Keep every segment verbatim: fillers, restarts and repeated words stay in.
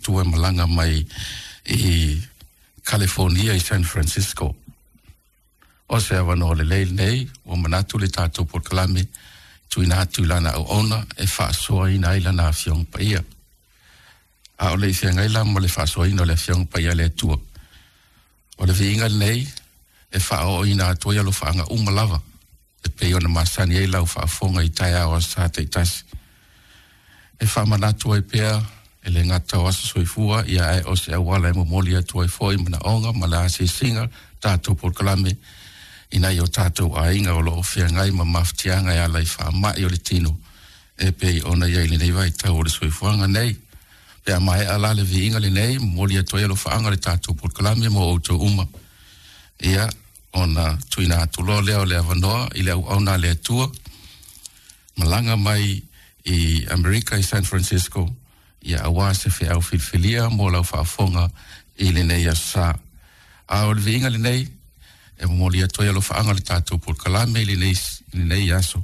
Atua e malaga mai i California i San Francisco. O se avanoa lelei lenei ua manatu le tatou polokalame tuuina atu i lana auauna e faasoaina ai lana Afioga Paia. A o le i feagai la ma le faasoaina o le Afioga Paia a le Atua, o le viiga lenei e faaooina atu ai alofaaga uma lava e pei ona masani ai lau faafofoga i taeao aso Sa taitasi. E faamanatu ai pea e le gata o aso soifua ia ae o se auala e momoli atu ai foi manaoga ma le asiasiga tatou polokalame i nai o tatou aiga o lo o feagai ma mafatiaga e ala i faamai o le tino e pei ona i ai lenei vaitau o le soifuaga nei. Pe a maea la le viiga lenei, momoli atu ai alofaaga le tatou polokalame mo outou uma. Ia, ona tuuina atu loa lea o le avanoa i le auauna a le Atua, malaga mai i Amerika i San Francisco, ia aua se feau filifilia mo lau faafofoga i lenei aso Sa. A o le viiga lenei, e momoli atu ai alofaaga le tatou polokalame i lenei, i lenei aso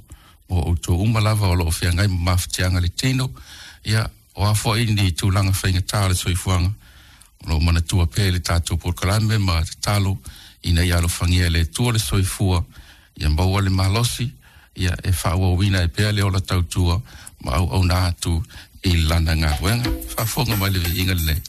mo outou uma lava o lo o feagai ma mafatiaga le tino, ia, o a foi ni tulaga faigata o le soifuaga, o lo o manatua pea le tatou polokalame ma tatalo ina ia alofagia e le Atua le soifua, ia maua le malosi, ia e faaauauina ai pea le ola tautua ma auauna atu i lana galuega. Faafofoga mai le viiga lenei.